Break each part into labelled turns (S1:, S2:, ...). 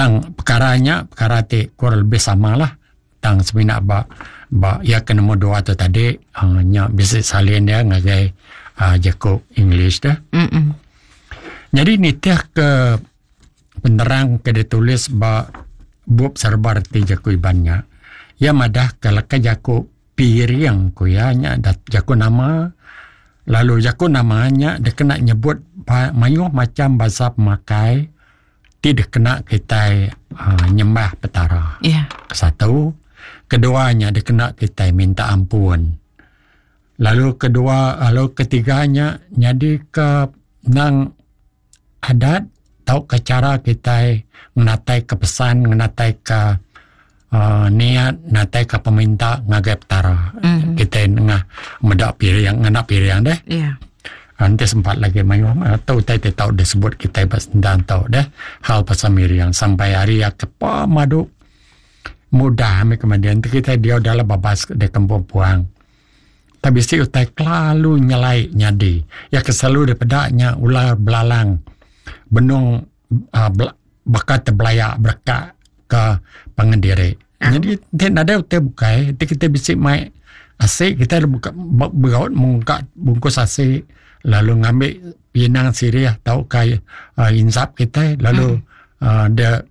S1: Tang pekara nya pekara ti kurang lebih sama lah. Tang semina ba ba iya ke nombor dua tu tadi uh, nya bisi salin dia ngagai uh, jaku English dah. Mm -mm. Jadi nitih ke penerang ke ditulis ba bup serba reti jaku Iban nya, iya madah ke leka jaku piring ku iya nya jaku nama lalu jaku nama nya dikena nyebut mayuh macham bansa pemakai ti dikena kitai uh, nyembah Petara.
S2: Yeah.
S1: Satu, kedua nya dikena kitai minta ampun. Lalu kedua, lalu ketiga nya nyadi ke nang adat tauka chara kitai ngenatai ke pesan, ngenatai ke uh, niat, ngenatai ke peminta ngagai Petara. Mm-hmm. Kitai nengah meda piring, ngena piring deh.
S2: Yeah.
S1: Nanti sempat lagi mayuh atau utai ti tau disebut kitai ba sendang tau deh hal pasal miring sampai hari ya ke pemadu mudah ambi kemudian kita diau dalam babas di kampung puang. Tapi bisi utai kelalu nyelai nyadi. Ya ke selalu dipeda nya ular belalang benung uh, baka tebelaya bereka ke pangan diri. Jadi ti nadai utai bukai ti kita bisi mai asi kita buka beraut mungka bungkus asi lalu ngambi pinang sirih tauka uh, insap kita lalu hmm. uh, dia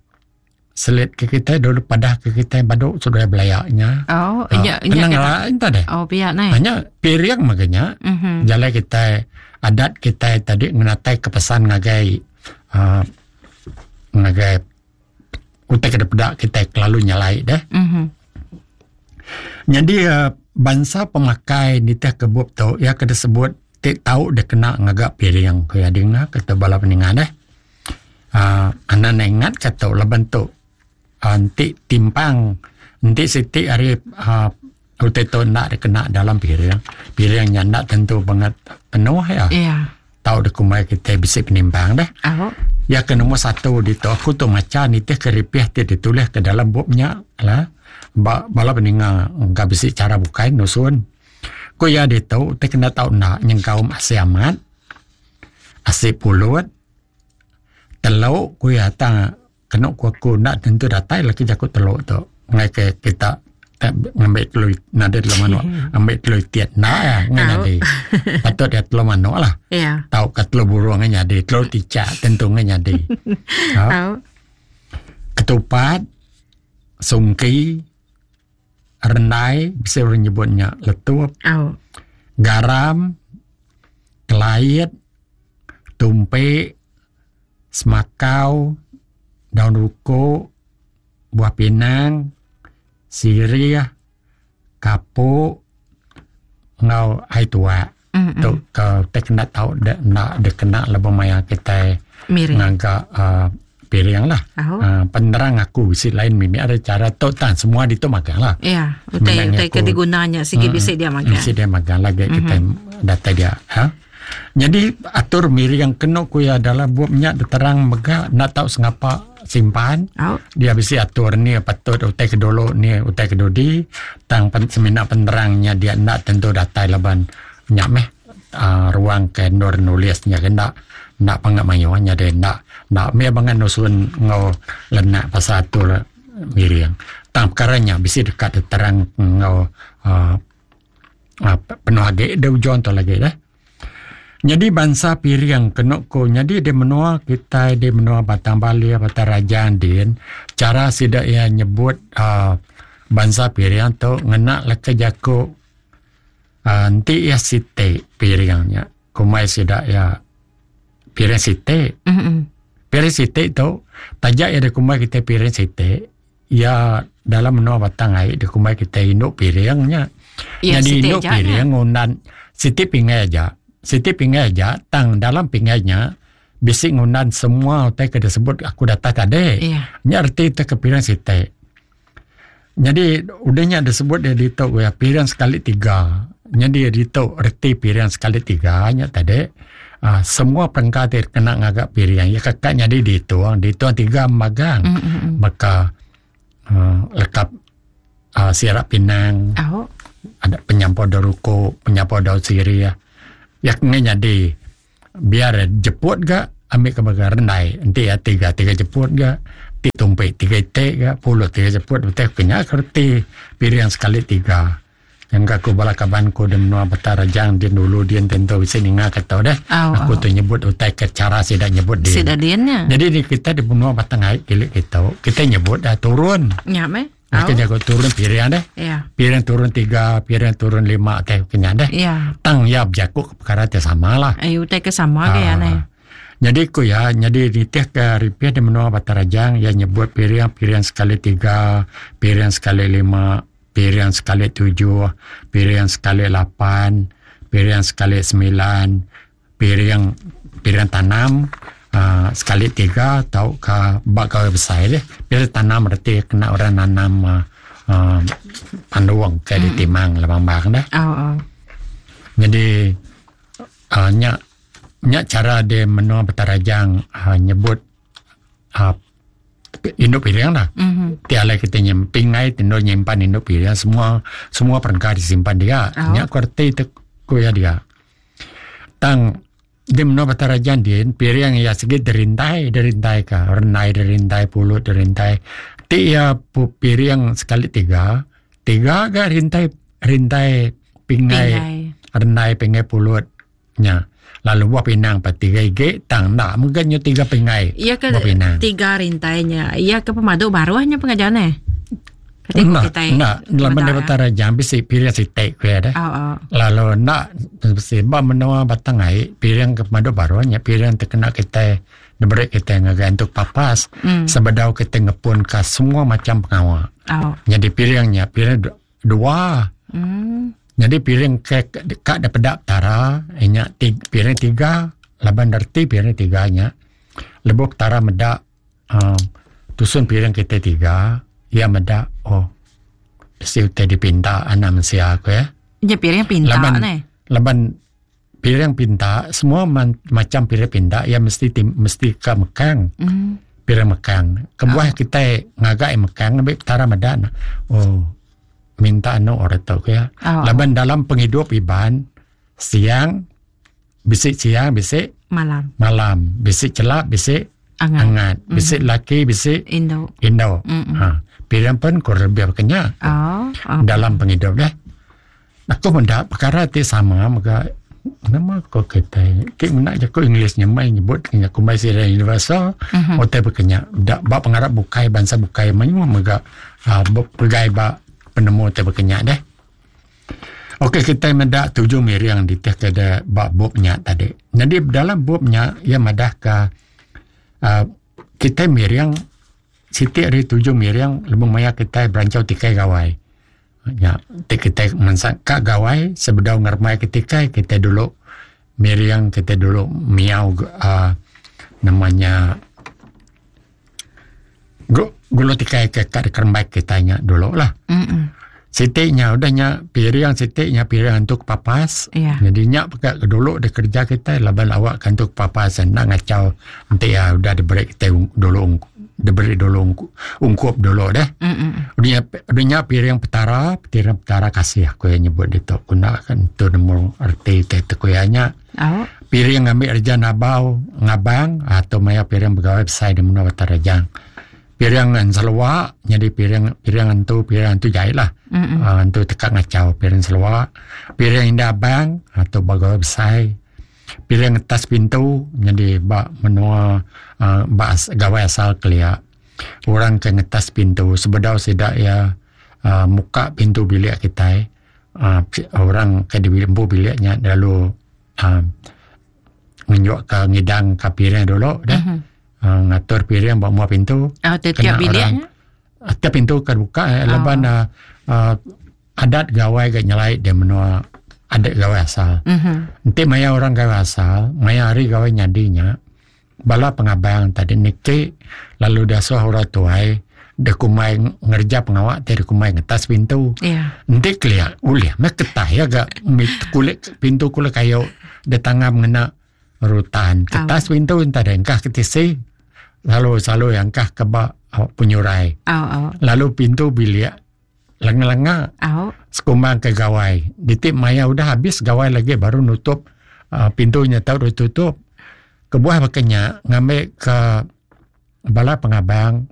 S1: selit ke kita dulu padah ke kita badu sudah belaya nya.
S2: Oh, uh,
S1: nya nya lah entah deh.
S2: Oh, pia nai.
S1: Hanya piring makanya. Mm -hmm. Jalai kita adat kita tadi ngenatai ke pesan ngagai uh, ngagai utai ke dipeda kitai kelalu nyelai deh.
S2: Mm -hmm.
S1: Jadi uh, bansa pemakai nitih ke bup tu ia ke disebut ti tau dikena ngaga piring ku iya dinga kata bala peninga deh. Uh, anak ingat ke tu laban tu uh, enti timpang enti siti ari uh, utai tu enda dikena dalam piring piring nya enda tentu bangat penuh ya.
S2: Yeah.
S1: Tau dikumbai kitai bisi penimpang deh.
S2: Au.
S1: Ya ke nombor satu ditu aku tu macha nitih ke ripih ti ditulis ke dalam bup nya lah. Ba bala peninga engka bisi chara bukai nusun. Ku iya ditu ti kena tau enda nyengkaum asi amat, asi pulut, teluk ku iya tang Kenu ku aku enda tentu datai lagi jaku telu tu ngai ke kita ngambi telu nadai telu manuk ambi telu itit enda ya ngai nyadi patut iya telu manuk lah
S2: yeah.
S1: tauka telu burung ngai nyadi telu ticak tentu ngai nyadi
S2: ha
S1: ketupat sungki rendai bisi orang nyebut nya letup
S2: oh.
S1: garam kelait tumpi semakau, daun rukuk, buah pinang, sirih, kapuk enggau ai tuak.
S2: Mm-mm.
S1: Tu ke utai kena tau de enda dikena lebuh maya kitai
S2: Miring.
S1: ngaga uh, piring lah.
S2: Oh.
S1: Uh, penerang aku bisi lain mimit ada cara tu tan semua ditu magang lah.
S2: Ya, utai
S1: Menang
S2: utai ke
S1: aku-
S2: diguna nya sigi bisi dia magang.
S1: Bisi dia magang lagi mm-hmm. kitai datai dia. Ha? Nyadi atur miring kenu ku iya dalam bup nya diterang mega enda tau sengapa simpan.
S2: Au.
S1: Dia bisi atur ni patut utai ke dulu ni utai ke dudi tang pen, semina penerang nya dia enda tentu datai laban nya meh uh, ruang ke endur nulis nya ke enda enda panga mayuh nya dia enda enda meh bangat nusun enggau lenak pasal atur miring. Tang perkara nya bisi deka diterang enggau uh, uh, penuh agi di ujung tu lagi deh. Nyadi bansa piring kenu ku nyadi di menua kitai di menua Batang Balih, Batang Rajang din chara sida iya nyebut uh, bansa piring tu ngena leka jaku uh, enti iya siti piring nya kumbai sida iya piring siti.
S2: Mm -mm.
S1: Piring siti tu taja iya dikumbai kitai piring siti Iya dalam menua Batang Ai dikumbai kitai indu piring nya.
S2: Ya,
S1: Nyadi
S2: siti
S1: indu
S2: aja
S1: piring
S2: nya.
S1: ngundan siti pingai aja. Siti pingai aja tang dalam pingai nya bisi ngundan semua utai ke disebut aku datai tadi.
S2: Ya.
S1: Nya reti te ke piring siti. Nyadi udah nya disebut dia ditu ya piring sekali tiga. Nyadi ditu reti piring sekali tiga nya tadi uh, semua perengka ti kena ngaga piring ya keka nyadi ditung, ditung tiga magang.
S2: Mm -hmm.
S1: Baka uh, lekap uh, sirap pinang.
S2: Oh.
S1: Ada penyampur daun rukuk, penyampur daun sirih. Ya kena nyadi biar jeput ga ambil ke baga rendai. Enti ya tiga tiga jeput ga. Ti tumpi tiga iti ga pulut tiga jeput betai ku nya ke reti piring sekali tiga. Nyangka ku bala kaban ku di menua Beta Rajang din dulu din tentu bisi ninga ke tu deh.
S2: Au,
S1: Aku
S2: au.
S1: tu nyebut utai ke chara sida nyebut din.
S2: Sida din nya.
S1: Jadi di kita di menua Batang Ai kilik kitu, kita nyebut dah turun.
S2: Nya meh.
S1: Au.
S2: Au.
S1: Jaku turun piring deh.
S2: Ya.
S1: Piring turun tiga, piring turun lima teh ke nya deh.
S2: Ya.
S1: Tang iya bejaku ke perkara ti sama lah.
S2: Ai utai ke sama ke ya neh.
S1: Nyadi ku iya, nyadi nitihka ripih di menua Batang Rajang iya nyebut piring piring sekali tiga, piring sekali lima, piring sekali tujuh, piring sekali lapan, piring sekali semilan, piring piring tanam uhh sekali tiga tauka ba gawai besai deh. Piring tanam reti kena orang nanam uhh pandung ke ditimang lambang deh. Nyadi uhh nya nya chara de menua Batang Rajang uhh nyebut uhh indu piring lah. Ti alai kita pingai ti endur nyimpan indu piring semua semua perengka disimpan dia. Nya ku reti te ku iya dia. Tang di menua Batang Rajang din piring iya sigi dirintai dirintai ka renai dirintai pulut dirintai. Ti iya piring sekali tiga, tiga ga rintai rintai pingai renai pingai pulut nya. Lalu buah pinang pa tiga igi tang enda mega nyu tiga pingai
S2: Iya ke
S1: buah pinang.
S2: tiga rintai nya. Iya ke pemadu baruh nya pengajar neh. Kati ku
S1: Enda,
S2: kitai
S1: enda. Laban
S2: meda
S1: dia
S2: ya.
S1: Batang Rajang bisi piring siti ku iya deh.
S2: Oh, oh.
S1: Lalu enda bisi ba menua Batang Ai piring ke pemadu baruh nya piring ti kena kitai diberi kitai ngagai entuk papas
S2: Mm.
S1: sebedau kitai ngepun ka semua macam pengawa.
S2: Oh.
S1: Nyadi piring nya piring dua.
S2: Mm.
S1: Nyadi piring ke ka dipeda Petara inya ti piring tiga laban reti piring tiga nya lebuh Petara meda uhh tusun piring kitai tiga iya meda oh bisi utai dipinta anak mensia ku iya.
S2: Nya piring pinta
S1: Laban
S2: neh.
S1: laban piring pinta semua macam piring pinta iya mesti ti mesti ka mekang.
S2: Mm.
S1: Piring mekang. Kebuah kitai ngaga iya mekang ambi Petara meda ne oh minta anu orang tu ku iya.
S2: Oh.
S1: Laban dalam pengidup Iban siang Bisi siang bisi
S2: malam.
S1: Malam bisi chelap bisi
S2: angat,
S1: angat. Bisi mm. laki bisi
S2: indu.
S1: Indu.
S2: Mm
S1: Ha. Pilihan pun kurang lebih apa kenya.
S2: Oh, oh.
S1: Dalam penghidup deh. Aku menda perkara ti sama mega nama ko kita ti mena jaku English nya mai nyebut kenya kumbai sida universal
S2: mm-hmm.
S1: utai bekenya da ba pengarap bukai bansa bukai mayuh mega uh, pegai ba penemu ti bekenya deh. Okey kitai meda tuju miring ditih ke da ba bup nya tadi. Nyadi dalam bup nya iya madah ka uhh kitai miring siti ari tuju miring lebuh maya kitai berancau tikai gawai. Nya ti kitai mensang ka gawai sebedau ngeremai ke tikai kitai dulu miring kitai dulu miau uhh nama nya Gulu tikai ke ka dikerembai kitai nya dulu lah. Siti nya udah nya piring siti nya piring antu kepapas.
S2: Yeah.
S1: Jadi nya peka ke dulu dikereja kitai laban awak ke antu kepapas enda ngachau enti iya udah diberi kitai dulu diberi dulu ungkup dulu deh. Udah nya udah nya piring petara, piring petara kasih ku iya nyebut ditu. Ku enda tentu nemu reti ti ku iya nya.
S2: Au.
S1: Piring ngambi reja nabau ngabang atau maya piring begawai besai di menua Batang Rajang. Piring enselua nyadi piring piring antu piring antu jai lah.
S2: Mm
S1: Uh, antu teka ngachau piring selua. Piring indah abang atau begawai besai. Piring atas pintu nyadi ba menua uh, ba gawai asal kelia. Orang ke ngetas pintu sebedau sida iya uh, muka pintu bilik kitai uhh orang ke empu bilik nya lalu uhh ngenjuk ka ngidang ka piring dulu deh uhh ngatur piring ba mua pintu
S2: Oh tiap bilik
S1: nya? Tiap pintu ke buka eh laban uhh adat gawai ga nyelai da menua adat gawai asal. Enti maya orang gawai asal maya hari gawai nyadi nya Bala pengabang tadi niki lalu diasuh orang tuai dikumbai ngereja pengawa ti dikumbai ngetas pintu.
S2: Yeah.
S1: Enti kelia ulih meh ketah iya ga kulit pintu kulit kayu ditangam ngena rutan. Ketas pintu enta deh engkah ke tisi lalu selalu iya engkah ke ba penyurai.
S2: Oh, oh.
S1: Lalu pintu bilik lenga-lenga
S2: oh.
S1: sekumbang ke gawai. Diti maya udah habis gawai lagi baru nutup uh, pintu nya tau ditutup. Kebuah baka nya ngambi ke bala pengabang.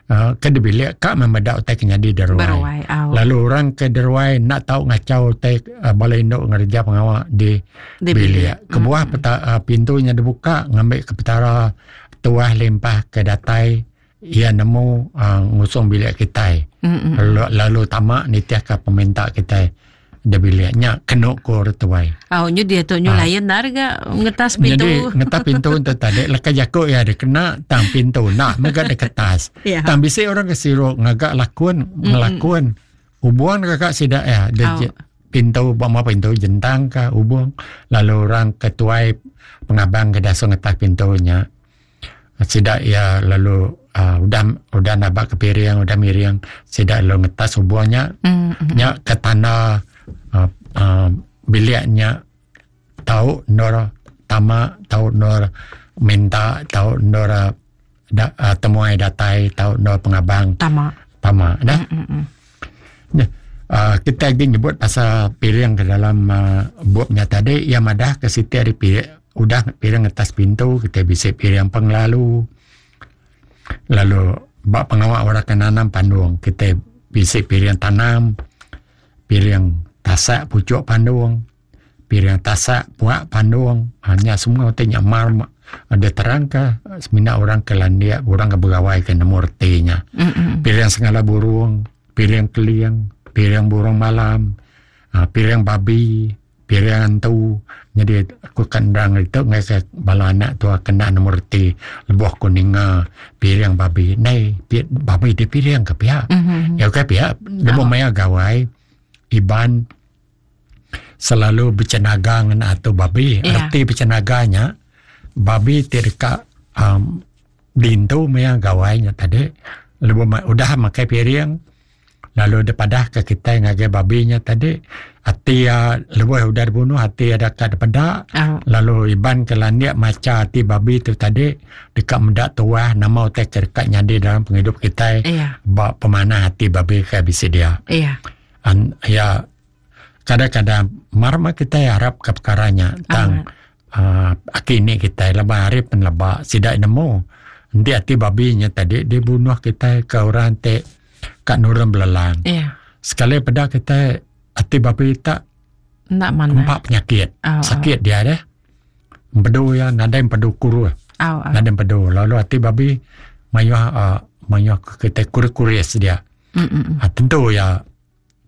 S1: uh, ke di bilik ka meh meda utai ke nyadi di ruai.
S2: Beruai, au.
S1: Lalu orang ke di ruai enda tau ngachau utai uh, bala indu ngereja pengawa di,
S2: Di
S1: bilik.
S2: bilik.
S1: Kebuah peta, uh, pintu nya dibuka ngambi ke petara tuah limpah ke datai iya nemu uh, ngusung bilik kitai.
S2: Mm-mm.
S1: Lalu, lalu tama nitihka peminta kitai di bilik nya kenu ku orang tuai.
S2: Au nyu dia tu nyu
S1: Ah.
S2: lain nar ga ngetas pintu.
S1: Jadi ngetas pintu tu tadi leka jaku iya dikena tang pintu nak mega diketas.
S2: Ya.
S1: Tang bisi orang ke siru ngaga lakun ngelakun hubung ngaga sida iya dia
S2: Au.
S1: je- pintu ba ma pintu jentang ka hubung lalu orang ke tuai pengabang ke dasuh ngetas pintu nya. Sida iya lalu uh, udah udah nabak ke piring udah miring sida lalu ngetas hubung nya
S2: Mm-mm.
S1: nya ke tanda uh, uh, bilik nya tau endur tama tau endur minta tau endur uh, da, uh, temuai datai tau endur pengabang
S2: Tama.
S1: tama dah
S2: Mm-mm.
S1: Nya, uh, kita lagi nyebut pasal piring ke dalam uh, bupnya tadi ia madah ke siti ari piring udah piring atas pintu kita bisi piring penglalu lalu ba pengawa orang ke nanam pandung kita bisi piring tanam piring tasak pucuk pandung piring tasak puak pandung ha, nya semua ti nya mar ada terang ke semina orang ke landik orang ke begawai ke nemu reti nya
S2: Mm-mm.
S1: piring sengala burung piring keling piring burung malam ha, piring babi piring antu jadi aku kan nerang itu ngai ke bala anak tu kena nemu reti lebuh ku ninga piring babi nei pi, babi di piring ke pia
S2: Mhm.
S1: ya ke pia lebuh maya gawai Iban selalu bercenaga ngena atu babi.
S2: Ya.
S1: Erti bercenaga nya babi ti deka um, dintu maya gawai nya tadi lebuh ma- udah makai piring lalu dipadah ke kita ngagai babi nya tadi ati ya lebuh udah dibunuh ati ada ka dipeda
S2: Au.
S1: lalu Iban ke landik maca ati babi tu tadi deka meda tuah nama utai ke deka nyadi dalam pengidup kita
S2: Iya.
S1: ba pemanah ati babi ke bisi dia
S2: Iya.
S1: an, ya kadang-kadang marma kita harap ke perkara nya tang uh, aki ni kita lebar hari penleba sidak nemu nanti ati babi nya tadi dibunuh kita ke orang te kat nurun belelang
S2: Iya.
S1: sekali pada kita ati babi tak
S2: Ndak mana.
S1: empat penyakit
S2: Au, au.
S1: sakit dia deh empedu ya nadai empedu kuru
S2: Au, au.
S1: nadai empedu lalu ati babi mayuh uh, mayuh kita kuris-kuris dia
S2: Mm-mm.
S1: ha, tentu ya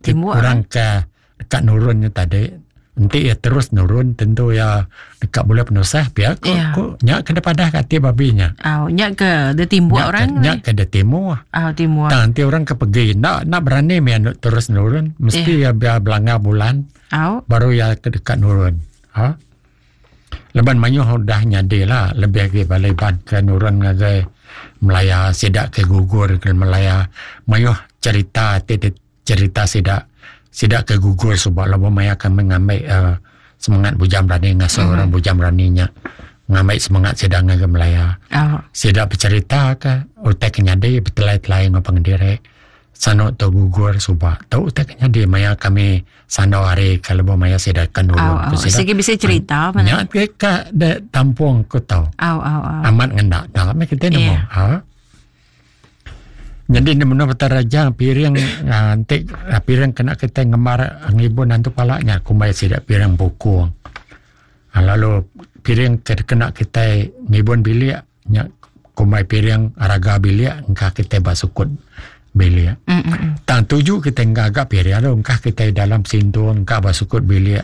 S1: ki-
S2: Timbuk,
S1: orang ke dekat nurunnya tadi nanti ya terus nurun tentu ya dekat boleh penusah pihak ku,
S2: Ya.
S1: ku nya kena padah kat ati babinya
S2: Au, nya ke dia timbuk
S1: nya
S2: orang.
S1: ke, nya ke dia timur
S2: Au timbuk.
S1: tak nanti orang ke pergi nak nak berani mia terus nurun mesti ya biar belanggar bulan
S2: Au.
S1: baru ya ke dekat nurun ha Leban mayuh udah nyadi lah lebih lagi balai ban ke nurun ngagai Melaya sidak ke gugur ke Melaya mayuh cerita ti ti- cerita sidak sidak ke gugur sebab lama maya kami ngambil uh, semangat bujang berani ngasuh mm-hmm. orang bujang beraninya ngambil semangat sidak ngagai Melaya
S2: Au.
S1: sidak bercerita ke utai ke nyadi bertelai-telai ngau pengendiri sano tu gugur subak tu utai ke nyadi maya kami sano hari kalau maya sidak ke nurun
S2: Au, au.
S1: Ku sidak
S2: Sigi bisa cerita mana.
S1: Nya ke ka de tampung ku tau.
S2: Au, au, au.
S1: Amat ngendak dalam kita nemu.
S2: Iya.
S1: Ha. Jadi ni menurut raja piring ah, nanti ah, piring kena kita ngemar ngibun nanti palaknya kumbai sidak piring bukung. Ha, lalu piring ke kena kita ngibun bilik nya kumbai piring raga bilik engkah kita basukut bilik.
S2: Mm-mm.
S1: Tang tuju kita ngagak piring lalu engkah kita dalam sintung engkah basukut bilik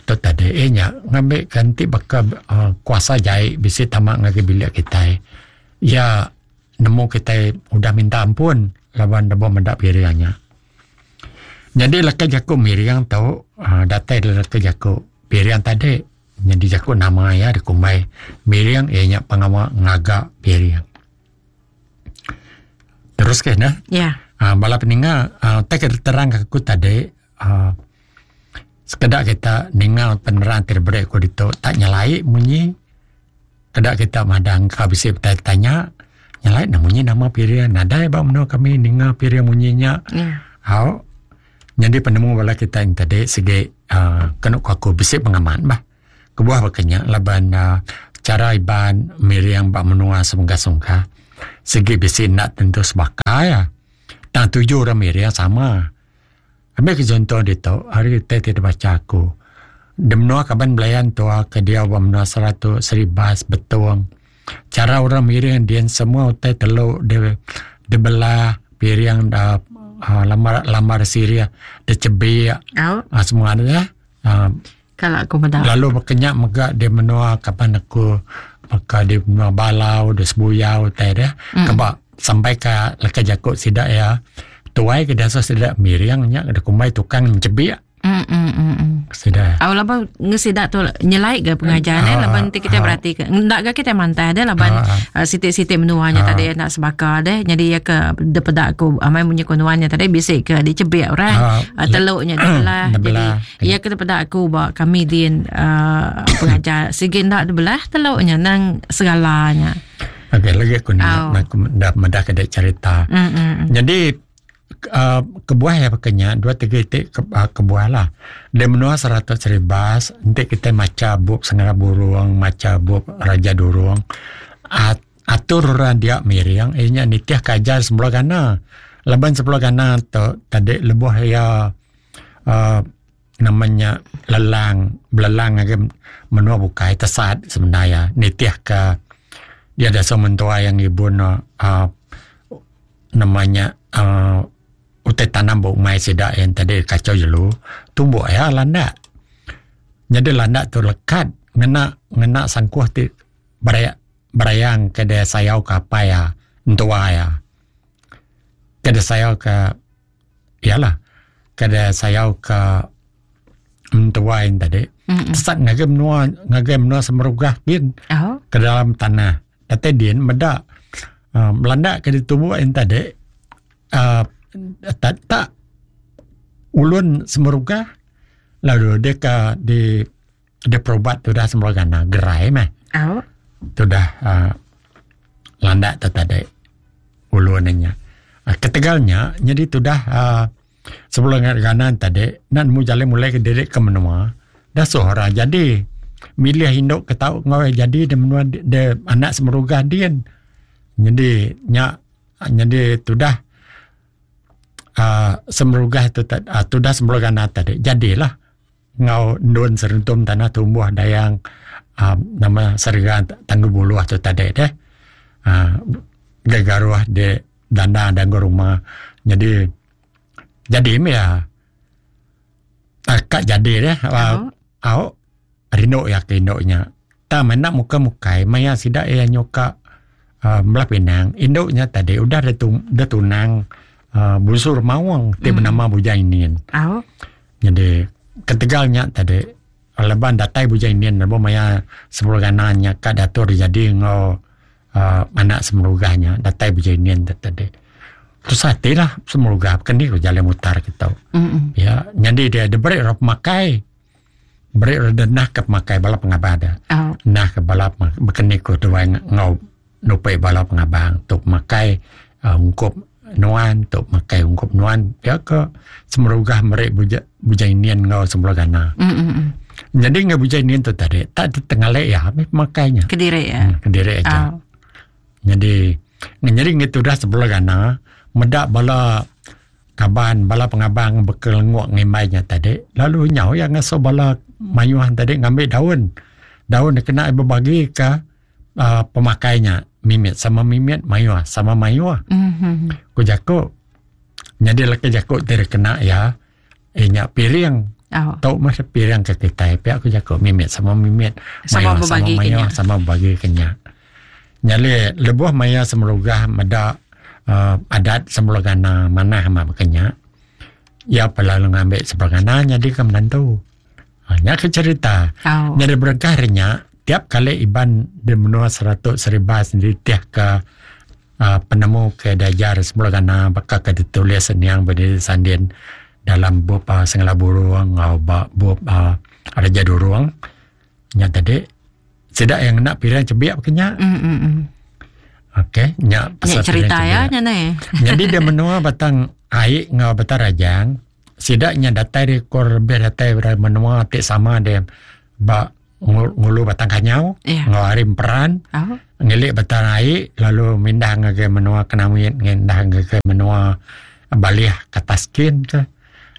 S1: tu tadi eh nya ngambil ganti bakal uh, kuasa jahit bisi tamak ngagi bilik kita. Ya nemu kita udah minta ampun lawan debo mendak piringnya. Jadi leka jaku miring tau uh, datai dari leka jaku piring tadi. Jadi jaku nama ya dikumbai miring ianya pengawal ngagak piring. Terus ke nah?
S2: Ya.
S1: Uh, bala peninga uh, tak terang ke aku tadi uh, sekedak kita ningal penerang terberi aku ditu tak nyalai munyi kedak kita madang ka bisi bertanya nyalai nak munyi nama piring nadai ba meno kami ninga piring munyinya
S2: Ya.
S1: hau jadi penemu bala kita yang tadi segi uh, kena ku aku bisi pengaman bah kebuah bakanya laban uh, cara iban miriang ba menua semungka-sungka. Sigi bisi enda tentu sebaka iya. Tang tuju orang miring sama. Ambi ke chunto ditu ari utai ti dibacha aku. Di menua kaban belayan tua ke diau ba menua Saratok, Seribas, Betong chara orang miring din semua utai telu di dibelah piring da uhh lambar lambar sirih dichebik uhh semua ne uhh.
S2: Kala aku meda.
S1: Lalu baka nya mega di menua kaban aku baka di menua Balau, di Sebuyau utai deh. Mm. Keba sampai ka leka jaku sida iya tuai ke diasuh sida miring nya ke dikumbai tukang enchebik.
S2: Mm, mm, mm, mm.
S1: Sida.
S2: Au laban ngesida tu nyelai ga pengajar ne laban ti kita berati ke enda ga kita mantah deh laban uh, siti-siti menua nya tadi enda sebaka deh jadi iya ke depeda aku amai munyi ko nuan nya tadi bisi ke dicebik orang uh, teluk nya dibelah jadi Iya ke peda aku ba kami din uh, pengajar sigi enda dibelah teluk nya nang segala nya.
S1: Okey lagi aku nak aku dah medah ke dek cerita. Mm, mm, mm. Jadi uh, kebuah ya pakainya dua tiga itik ke, uh, kebuah lah. Di menua Saratok Seribas enti kita maca bup Sengara Burung, maca bup Raja Durung, at, atur orang dia miring iya nya nitih ke ajar sebelah gana. Laban sebelah gana tu tadi lebuh iya uhh nama nya lelang belelang ngagai menua bukai tesat sebenar iya nitih ka iya dasa mentua iya ngibun uhh nama nya uhh utai tanam ba umai sida iya tadi kachau jelu tumbuh iya landak. Nyadi landak tu lekat ngena ngena sangkuh ti beraya berayang ke deh sayau ke apai iya entua iya. Ke deh sayau ke Iya lah. Kada sayau ka mentua in tadi. Sesat ngagai menua ngagai menua Semerugah gin
S2: Oh.
S1: ke dalam tanah. Datai din meda uh, melanda ke ditumbuk in tadi uh, tak, tak ulun Semerugah lalu dia ka di dia perubat tudah Semerugah na gerai meh.
S2: Oh.
S1: Tudah uh, landak tu tadi ulun nya. Uh, ketegal nya jadi tudah uh, sebelum ganan tadi nak nemu jalai mulai ke diri ke menua dah suh orang jadi milih induk ke tau ngau jadi di menua di, di anak semerugah din. Jadi nya jadi tudah uh, semerugah tu uh, tudah semerugah tadi jadilah enggau endun serentum tanah tumbuh dayang um, nama serega tanggu buluh tu tadi deh. Uh, gegaruh di dana danggu rumah. Jadi jadi mi ya. Uh, kak jadi deh. Uh, au rindu ya ke indu nya. Ta mena muka mukai maya sida iya nyuka uh, belah pinang. Indu nya tadi udah dia tunang uh, busur mawang ti bernama Bujang Inin.
S2: Au.
S1: Nyadi ketegal nya tadi laban datai Bujang Inin lebuh maya sepuluh gana nya ka diatur jadi enggau uhh anak Semerugah nya datai Bujang Inin tu tadi. Tusah ati lah Semerugah bukan ni ku jalai mutar kitu. Ya nyadi dia diberi orang pemakai beri orang denah ke pemakai bala pengabang dia. Nah ke bala bukan ni ku tuai enggau Nupi bala pengabang tu makai uhh ungkup nuan tu makai ungkup nuan pia ke semerugah meri buja bujang inin enggau sebelah gana. Nyadi enggau bujang inin tu tadi tak tengali iya meh pemakai nya.
S2: Kediri iya.
S1: Kediri aja. Nyadi nyadi ngi tudah sebelah gana meda bala kaban bala pengabang bekelengok ngimbai nya tadi lalu nyau iya ngasuh bala mayuh tadi ngambi daun. Daun dikena iya bebagi ka uh, pemakai nya mimit sama mimit mayuh sama mayuh. Mm-hmm. Ku jaku nyadi leka jaku ti kena ya eh nya piring.
S2: Oh.
S1: Tok mah piring ke kitai pia ku jaku mimit sama mimit
S2: sama
S1: mayuh sama mayuh sama bagi kenya. Nyali lebuh maya semerugah meda uh, adat semerugana manah amat bekenya. Ya pelalu ngambil semerugana nyadi ke menantu. Ha, nya ke cerita.
S2: Oh.
S1: Nyadi berengkah ari nya, tiap kali Iban di menua Seratok Seribas nitih ke uh, penemu ke diajar semula gana baka ke ditulis niang Benedict Sandin dalam bup uh, Sengala Burung enggau ba bup uh, Raja Durung. Nya tadi sida yang ngena piring chebik ke nya.
S2: Mm, mm, mm.
S1: Okey, nya
S2: pasal
S1: nya
S2: cerita ya nya neh.
S1: Jadi dia menua Batang Ai enggau Batang Rajang Sida nya datai ari kur lebih datai ari menua ti sama dia ba. ngulu Batang Kanyau
S2: yeah.
S1: enggau ari Emperan
S2: oh.
S1: ngilik Batang Ai lalu mindah ngagai menua Kenawit ngindah ngagai menua Balih Kataskin ke.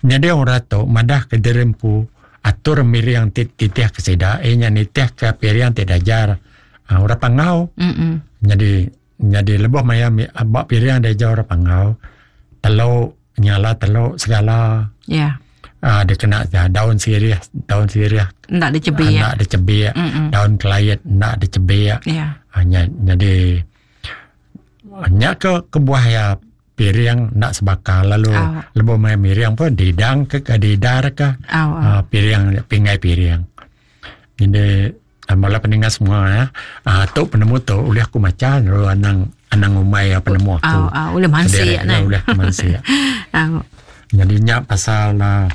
S1: Nyadi orang tu madah ke diri empu atur miring ti titih ke sida iya nya nitih ke piring ti diajar uh, orang Panggau.
S2: Mm-mm.
S1: Nyadi nyadi lebuh maya ba piring diajar orang Panggau telu nyala telu segala.
S2: Ya.
S1: Uh, dikena ja, daun sirih, daun sirih
S2: enda dicebik.
S1: Enda dicebik.
S2: Mm-mm.
S1: Daun kelait enda dicebik.
S2: Ya.
S1: Uh, nya, jadi nya ke kebuah ya piring enda sebaka lalu
S2: oh.
S1: lebuh maya miring pun didang ke ke didar ke
S2: oh, oh.
S1: Uh, piring pinggai piring. Jadi bala peninga semua ya. Uh, tu penemu tu ulih aku macha lalu anang anang ngumbai penemu aku.
S2: Oh, oh, ulih mansi
S1: ya, ulih mansi.
S2: Oh.
S1: Jadi nya pasal uh,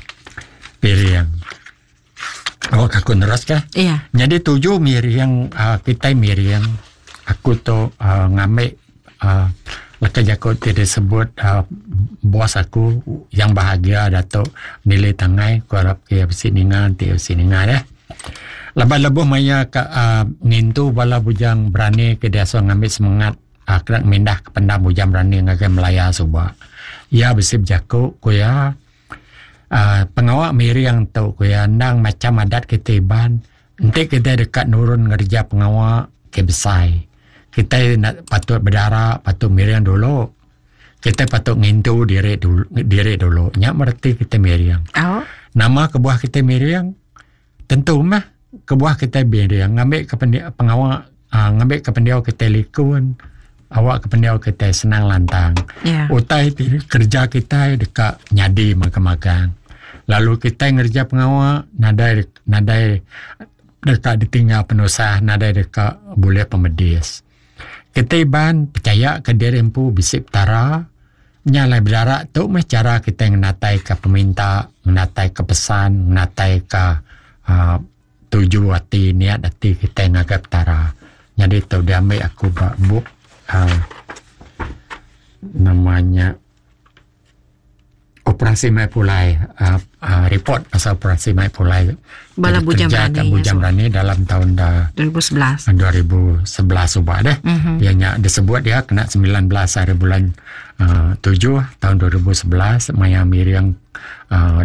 S1: piring. Oh, aku neras ke?
S2: Iya.
S1: Jadi tuju miring uh, kita miring aku tu uh, ngambil uh, leka jaku ti disebut uh, bos aku yang bahagia Datuk Nili Tangai ku arap ke bisi ninga ti bisi ninga deh. Laban lebuh maya ka uh, ngintu bala bujang berani ke diasuh ngambil semangat uh, kena mindah ke pendam bujang berani ngagai Melaya suba. Iya bisi bejaku ku iya uh, pengawa miring tu ku iya endang macam adat kita Iban enti kita deka nurun ngereja pengawa ke besai. Kita nak patut bedara, patut miring dulu. Kita patut ngintu diri dulu, diri dulu. Nya berarti kita miring.
S2: Oh.
S1: Nama kebuah kita miring? Tentu mah kebuah kita miring ngambil ke pengawa uh, ngambil ke pendiau kita likun, awak ke pendiau kita senang lantang.
S2: Yeah.
S1: Utai kerja kita dekat nyadi magang-magang. Lalu kita ngerja pengawa nadai nadai dekat ditinggal penusah, nadai dekat boleh pemedis. Kita Iban percaya ke diri empu bisi petara, nyalai berdarak tu meh cara kita ngenatai ke peminta, ngenatai ke pesan, ngenatai ke uh, tuju hati, niat hati kita ngagai petara. Jadi tu diambil aku ba bup uh, namanya Operasi Mai Pulai, uh, uh, report pasal Operasi Mai Pulai.
S2: Bala Bujang
S1: Berani. Bujang Berani dalam tahun dah
S2: 2011.
S1: 2011 ubah deh.
S2: Mm-hmm.
S1: Dia nya disebut dia kena 19 hari bulan uh, 7 tahun 2011 maya miring uh,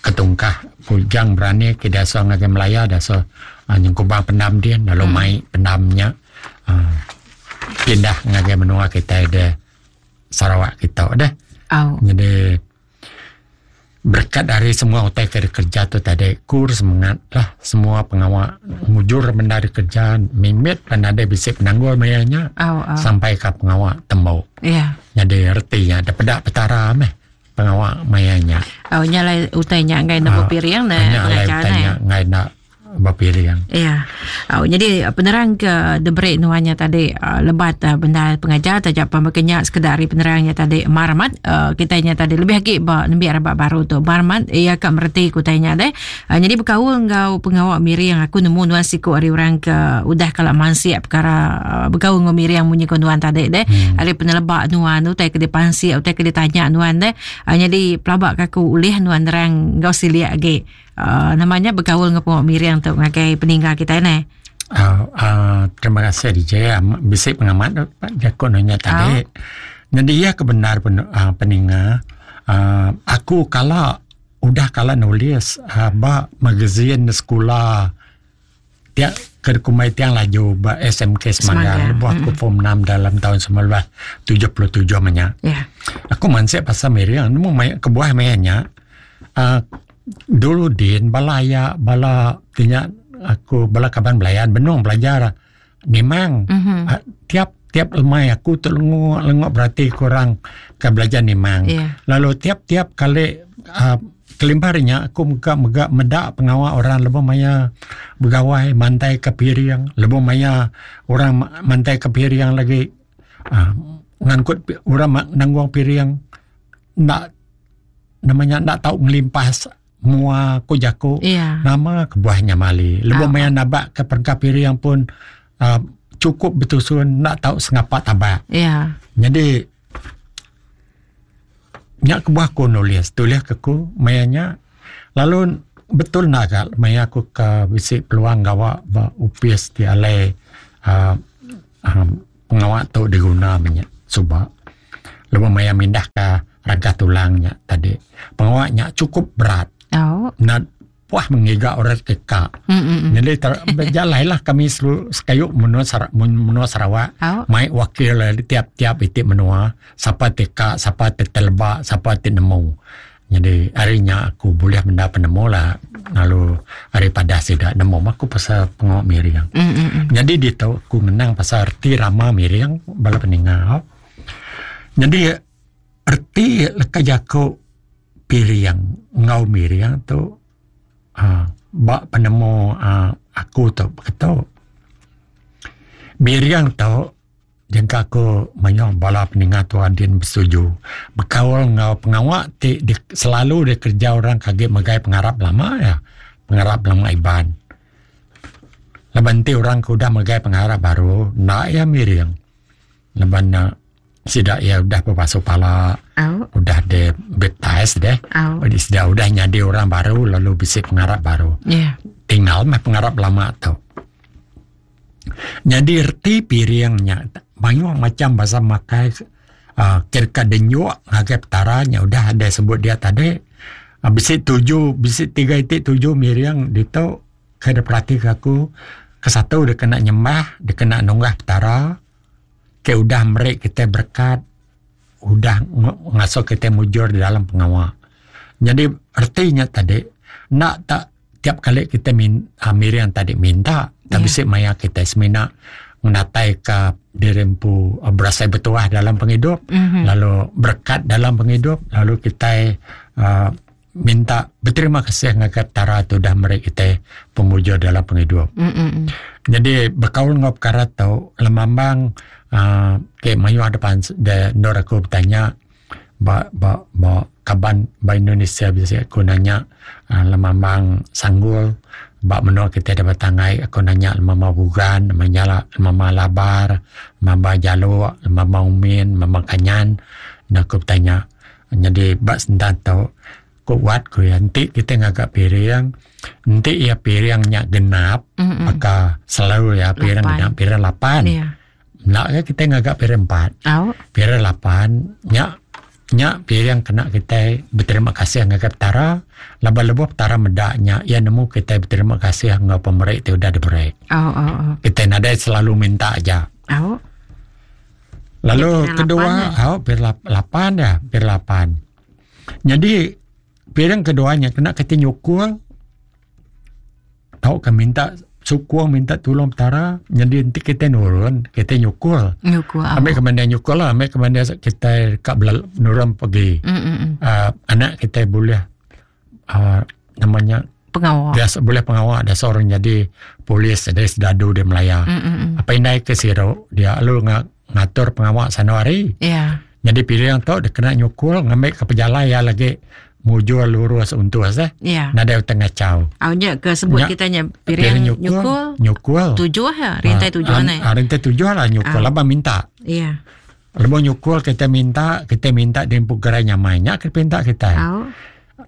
S1: ketungkah Bujang Berani ke dasa ngagai Melaya dasa uh, nyengkubang pendam dia lalu mm. mai pendamnya uh, pindah ngagai menua kita de Sarawak kita deh.
S2: Oh.
S1: Jadi berkat dari semua utai ke kerja tu tadi kur semangat lah semua pengawak mujur benda kerja mimit dan ada bisi penanggul mayanya
S2: oh, oh.
S1: sampai ke pengawak tembok.
S2: Yeah.
S1: Jadi ertinya ada pedak petara meh pengawak mayanya.
S2: Oh nyalai utai nya ngai nak berpiring nah
S1: nyalai utai nya ngai nak berpiring.
S2: Ya. Oh, jadi penerang ke debrik nuannya tadi uh, lebat uh, benda pengajar tajak pembekenya sekedar hari penerangnya tadi marmat uh, kitanya tadi lebih lagi ba nembiak rebak baru tu marmat ia ka mereti kutainya deh. Uh, jadi berkaul enggau pengawak miring aku nemu nuan siku hari orang ke udah kalau mansiak perkara uh, berkaul enggau miring munyi ko nuan tadi deh.
S1: Hmm.
S2: Hari penelebak nuan utai ke dipansi utai ke ditanya nuan deh. Uh, jadi pelabak aku ulih nuan nerang enggau siliak lagi. Uh, namanya berkaul dengan pengawak miring tu ngagai peninggal kita ni.
S1: Uh, uh, terima kasih DJ. Bisik pengamat Pak Jakun nanya tadi.
S2: Oh.
S1: Jadi ia kebenar pen, uh, peninga. Uh, aku kala udah kala nulis uh, ba magazine sekolah tiap ke kumai tiang laju ba SMK Semanggang. Lebuh aku form 6 dalam tahun 1977 menya.
S2: Yeah.
S1: Aku mansik pasal miring nemu mai kebuah mayanya. Uh, dulu din bala ya bala tinya aku bala kaban belayan benung belajar nimang.
S2: Mm-hmm.
S1: Uh, tiap tiap lemai aku tu lengok lengok berarti kurang ke belajar nimang.
S2: Yeah.
S1: Lalu tiap-tiap kali uh, kelimparnya aku mega-mega medak pengawak orang lebuh maya begawai mantai ke piring, lebuh maya orang mantai ke piring lagi uh, ngangkut orang nanggung piring nak namanya nak tahu ngelimpas mua ku jaku
S2: yeah.
S1: Nama kebuahnya mali lebuh
S2: Oh.
S1: maya nabak ke perengkap piring pun uh, cukup betusun nak tahu sengapak tabak.
S2: Yeah.
S1: Jadi nyak kebuah ku nulis tulis ke ku mayanya lalu Betul enda ga maya aku ke bisi peluang gawa ba opis ti alai uhh pengawa tu diguna meh nya suba. Lebuh maya mindah ka ragah tulang nya tadi pengawa nya chukup berat. Enda puah mengiga orang ke ka. Jadi bejalai lah kami selu sekayu menua menua Sarawak mai wakil tiap-tiap iti menua sapa ti ka sapa ti teleba sapa ti nemu. Nyadi ari nya aku bulih menda penemu lah lalu ari padah sida nemu mah aku pasal pengawa miring. Nyadi ditu aku ngenang pasal reti rama miring bala peninga. Nyadi reti leka jaku piring enggau miring tu uhh ba penemu uhh aku tu beketu. Miring tu Jangka aku mayuh bala peninga tuan din besetuju bekaul enggau pengawa ti di selalu dikereja orang ke agi megai pengarap lama iya pengarap lama Iban. Laban enti orang ke udah megai pengarap baru enda iya miring laban ne sida iya udah bebasu pala udah di baptise deh sida udah nyadi orang baru lalu bisi pengarap baru. Tinggal meh pengarap lama tu. Nyadi reti piring nya mayuh macam basa makai uhh kira denyuk ngagai petara nya udah deh sebut dia tadi uhh bisi tuju bisi tiga iti tuju miring ditu ke diperatika aku ke satu dikena nyembah dikena nunggah petara ke udah meri kitai berekat udah ngasuh kitai mujur dalam pengawa. Nyadi reti nya tadi enda tak tiap kali kitai min uhh miring tadi minta tang bisi maya kitai semina ngenatai ka diri empu berasai betuah dalam pengidup lalu berekat dalam pengidup lalu kitai uhh minta beterima kasih ngagai Petara ti udah meri kitai pemujur dalam pengidup. Nyadi bekaul enggau pekara tu lemambang uhh ke mayuh depan de endur aku betanya ba ba ba kaban ba Indonesia bisi aku nanya uhh lemambang sanggul ba menua kitai da Batang Ai aku nanya lemambang Bugan, lemambang Labar, lemambang Jalok, lemambang Umin, lemambang Kanyan ne aku betanya. Nyadi ba sentan tu ku wat ku iya enti kitai ngaga piring enti iya piring nya genap baka selalu iya piring genap piring lapan. Enda ke kitai ngaga piring empat. Piring lapan nya nya piring kena kitai beterima kasih ngagai Petara laban lebuh Petara meda nya iya nemu kitai beterima kasih enggau pemeri ti udah diberi. Kitai nadai selalu minta aja. Lalu kedua au piring lapan dia piring lapan. Nyadi piring kedua nya kena kitai nyukung tauka minta sukung minta tulung Petara nyadi enti kitai nurun kitai nyukul.
S2: Nyukul.
S1: Ambi ke menda nyukul lah ambi ke menda kitai ka bela nurun pegi uhh anak kitai bulih uhh nama nya
S2: pengawa
S1: biasa bulih pengawa biasa orang nyadi polis jadi sedadu di Malaya. Apai indai ke siru dia lalu ngatur pengawa sano hari.
S2: Yeah.
S1: Nyadi piring tu dikena nyukul ngambi ke pejalai iya lagi mujur lurus untus eh.
S2: Yeah.
S1: Nadai utai ngachau.
S2: Au nya ke sebut
S1: Nya,
S2: kita nya piring,
S1: piring nyukul,
S2: nyukul,
S1: nyukul.
S2: Tujuh ya, rintai tujuh
S1: ah,
S2: ne.
S1: Ah, rintai tujuh lah nyukul ah. laban minta.
S2: Iya.
S1: Yeah. Lebuh nyukul kita minta, kita minta di empu gerai nyamai. Nya ke pinta kita.
S2: Au.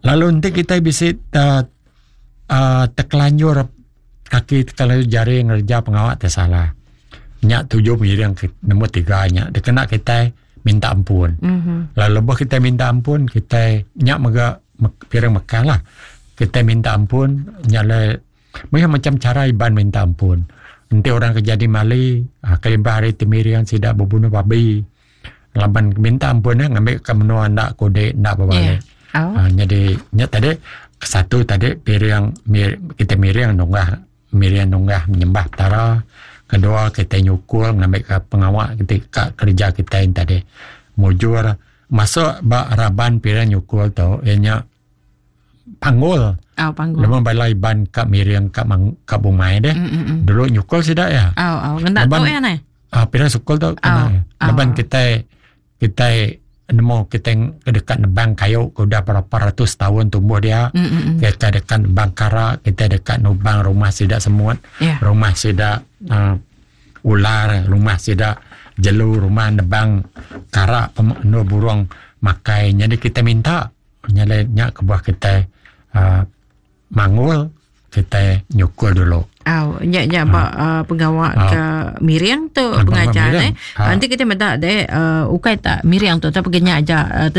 S1: Lalu enti kita bisi uh, uh, tekelanjur kaki tekelanjur jari ngereja pengawa ti salah. Nya tuju miring ke nombor tiga nya dikena kitai minta ampun.
S2: Mm-hmm.
S1: Lalu lebuh kitai minta ampun kitai nya mega piring mekah lah. Kitai minta ampun nya le mayuh macam cara Iban minta ampun. Enti orang ke jadi mali ah, kelimpah ari ti miring sida bebunuh babi laban minta ampun eh ngambi ka menua enda kudi enda bebali.
S2: Yeah. Oh.
S1: Ah, jadi nya tadi satu tadi piring mir, kita miring nunggah miring nunggah menyembah Petara. Kedua kita nyukul ngambi ka pengawa kita ka kerja kita tadi mujur masuk ba raban piring nyukul tu iya nya panggul.
S2: Oh, panggul.
S1: Lebuh bala Iban ka miring ka mang, ka bumai deh.
S2: Mm-mm.
S1: Dulu nyukul sida ya.
S2: Oh, oh. Ngena tu ya nai.
S1: Ah, piring sukul tu kena.
S2: Oh, oh.
S1: Laban kitai kitai nemu kitai deka nebang kayu ke udah berapa ratus tahun tumbuh dia.
S2: Mm-mm.
S1: Kita deka nebang kara, kita deka nubang rumah sida semut,
S2: Yeah.
S1: rumah sida uh, ular, rumah sida jelu, rumah nebang kara pem, burung makai. Jadi kita minta nyalai nya kebuah kitai uh, Manggul kitai nyukul dulu.
S2: Au, nya nya ba uh, pengawa uh, ke miring tu pengajar eh. Nanti kita meda deh uh, ukai tak miring tu tapi genya aja uh,